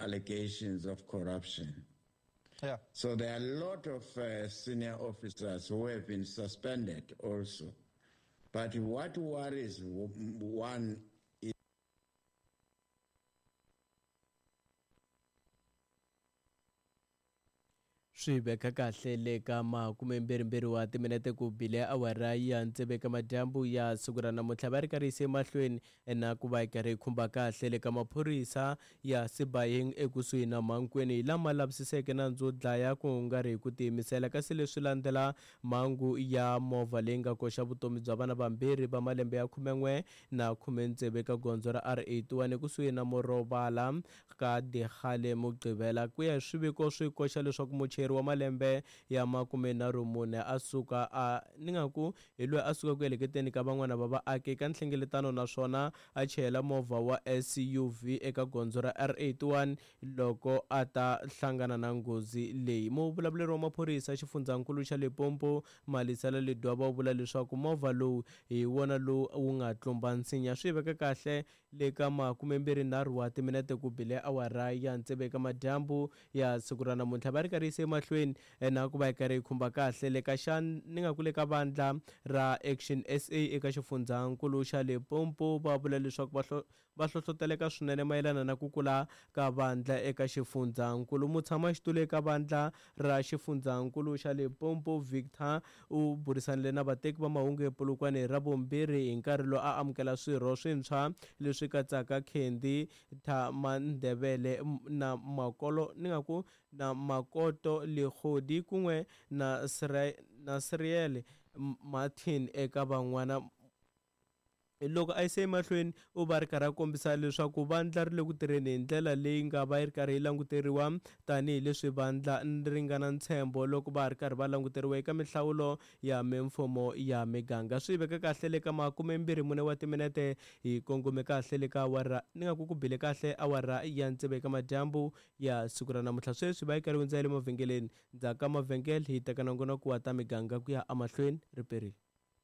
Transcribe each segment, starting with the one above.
allegations of corruption. Yeah. So there are a lot of senior officers who have been suspended also. But what worries one is Swi veka kahle le ka makumembirhimbirhi wa timinete ku bile awara ya tsevu eka madyambu ya siku ra namuntlha. Va ri karhi yise emahlweni na ku va yi karhi yi khumba kahle le ka maphorisa ya Sibayeng ekusuhi na Mankweng hi lama lavisiseke nandzu wo dlaya ku nga ri hi ku tiyimisela, kasi leswi landzela mhangu ya movha leyi nga koxa vutomi bya vana vambirhi va malembe ya 11 na 16 eka gondzo ra R81 ekusuhi na Morovala ka Dikgale Mugqivela. Ku ya hi swiviko swi koxa leswaku muchayeri wa malembe ya 34 a suka a ni nga ku hi loyi a suka ku heleketeni ka van'wana va vaaki eka nhlengeletano naswona a chayela movha wa SUV eka gondzo ra R81 loko a ta hlangana na nghozi leyi. Muvulavuleri wa maphorisa xifundzankulu xa Limpopo, Malisela Ledwaba u vula leswaku movha lowu hi wona lowu wu nga tlumba nsinya. Swi veka kahle le ka 23 wa timinete ku bile awara ya tsevu eka madyambu ya siku ra namuntlha. Va ri karhi yise emahlweni na ku va yi karhi yi khumba kahle le ka xa ni nga ku le ka vandla ra Action SA eka xifundzankulu xa Limpopo. Va vula leswaku va va hlohloteleka swinene mayelana na ku kula ka vandla eka xifundzankulu. Mutshamaxitulu eka vandla ra xifundzankulu xa Limpopo, Victor, u burisanile na vateki va mahungu ePolokwane hi Ravumbirhi hi nkarhi lowu a amukela swirho swintshwa leswi katsaka Candy Thamandebele na Makolo ni nga ku na Makoto Legodi kun'we na na Sriel Martin eka van'wana. Loko a yise emahlweni u va ri karhi a kombisa leswaku vandla ri le ku tirheni hi ndlela leyi nga va yi ri karhi yi languteriwa tanihileswi vandla ri nga na ntshembo loko va ha ri karhi va languteriwa eka mihlawulo ya mimfumo ya miganga. Swi veka kahle le ka 24 wa timinete hi kongome kahle le ka awara ni nga ku ku bile kahle awara ya tsevu eka madyambu ya siku ra namuntlha. Sweswi va yi karhi hundza ya le mavhengeleni. Ndzhaku ka mavhengele hi teka nongonoko wa ta miganga ku ya emahlweni riperile.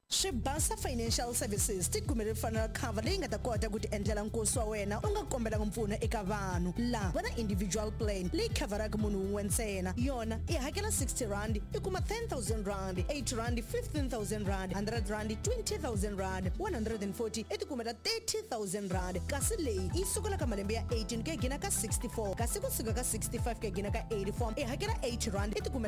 Swibasa Financial Services ti kumele funeral cover leyi nga ta kota ku ti endlela nkosi wa wena u nga kombelanga mpfuno eka vanhu. La va na individual plan leyi khavharaka munhu wun'we ntsena. Yona i hakela R60 i kuma R10,000, R80 R15,000, R100 R20,000, 140 i ti kumela R30,000. Kasi leyi yi sukela ka malembe ya 18 ku ya gina ka 64, kasi ku suka ka 65 ku ya gina ka 84 i hakela R80 i ti kumela.